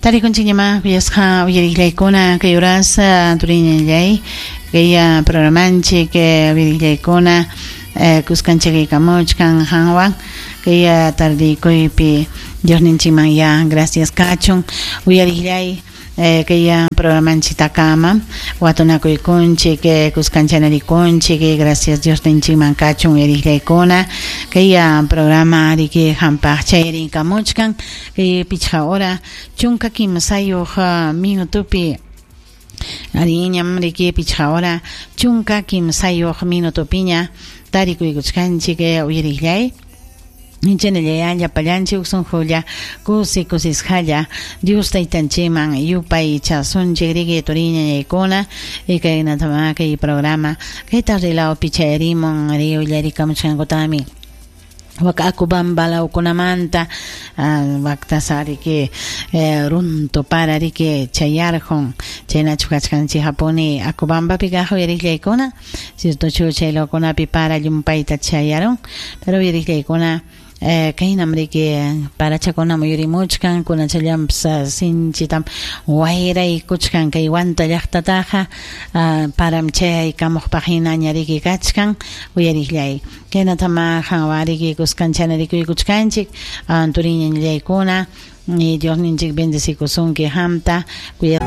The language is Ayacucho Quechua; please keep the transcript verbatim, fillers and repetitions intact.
Tarikunchikñamá kuyasqa uyariqllaykuna kay uras turiñallay kay programanchik uyariqllaykuna kuskanchikaykamuchkan hanwan kay tardikuypi Diosninchikman ya gracias kachun uyariqllay kay programanchiktakama watunakuykunchik kuskanchanarikunchik gracias Diosninchikman kachun uyariqllaykuna kay programa riki hampaq chayrinkamuchkan kay pichqa hora chunka kimsayuq minutupi ariñam riki pichqa hora chunka kimsayuq minutupiña tarikuykuchkanchik uyariqllay Inchanallaya llapallanchik sunqulla kusi kusisqalla Dios taytanchikman yupay chasunchik riki turiñañaykuna y kaynatamá kay programa kay tardilawpi chayarimun ari uyarikamuchkankutami wak Acobamba lawkunamanta waktasa riki runtu para riki chayarqun chaynachu kachkanchik hapuni Acobambapi kaq uyariqllaykuna ciertochu chay lawkunapi para llumpayta chayarun pero uyariqllaykuna kaynam riki parachakuna muyurimuchkan kunachallanpas sinchitam wayraykuchkan kay Huanta llaqtataqa param chayaykamuqpaq hinaña riki kachkan uyariqllay kaynatama hanwan riki kuskanchana rikuykuchkanchik turiñañallaykuna y Diosninchik bendecikusunki hamta kuya.